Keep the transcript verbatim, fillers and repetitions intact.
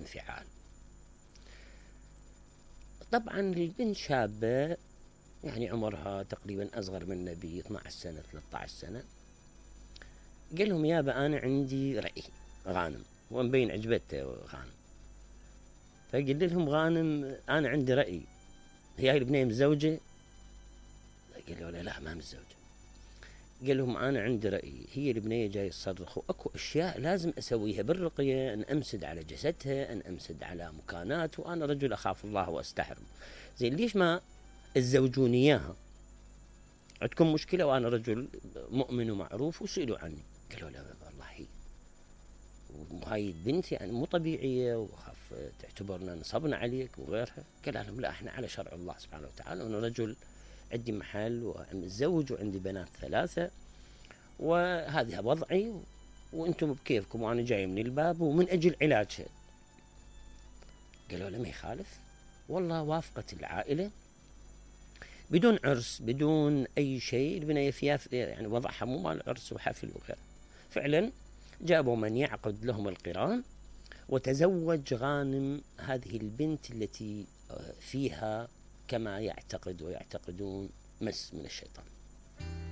انفعال. طبعا البنت شابة يعني عمرها تقريبا أصغر منه ب اثنى عشر سنة ثلاثة عشر سنة. قال لهم يابا أنا عندي رأي غانم، ومبين عجبته غانم. فقلت لهم غانم أنا عندي رأي، هي هاي البنية متزوجة؟ قالوا له لا ما متزوجة. قال لهم أنا عندي رأي، هي البنية جاي تصرخ وأكو أشياء لازم أسويها بالرقية، أن أمسد على جسدها، أن أمسد على مكانات، وأنا رجل أخاف الله وأستحرم. زين ليش ما تزوجوني إياها؟ عندكم مشكلة وأنا رجل مؤمن ومعروف وسئلوا عني. قالوا لا والله هي وهاي البنت يعني مو طبيعية وخاف تعتبرنا نصبنا عليك وغيرها. قال لهم لا احنا على شرع الله سبحانه وتعالى، وانا رجل عندي محل ومتزوج وعندي بنات ثلاثة وهذه وضعي وانتم بكيفكم وانا جاي من الباب ومن اجل علاجها. قالوا له ما يخالف. والله وافقت العائلة بدون عرس بدون اي شيء، البنية فيها يعني وضعها مو مال عرس وحفل وغيره. فعلا جابوا من يعقد لهم القران، وتزوج غانم هذه البنت التي فيها كما يعتقد ويعتقدون مس من الشيطان.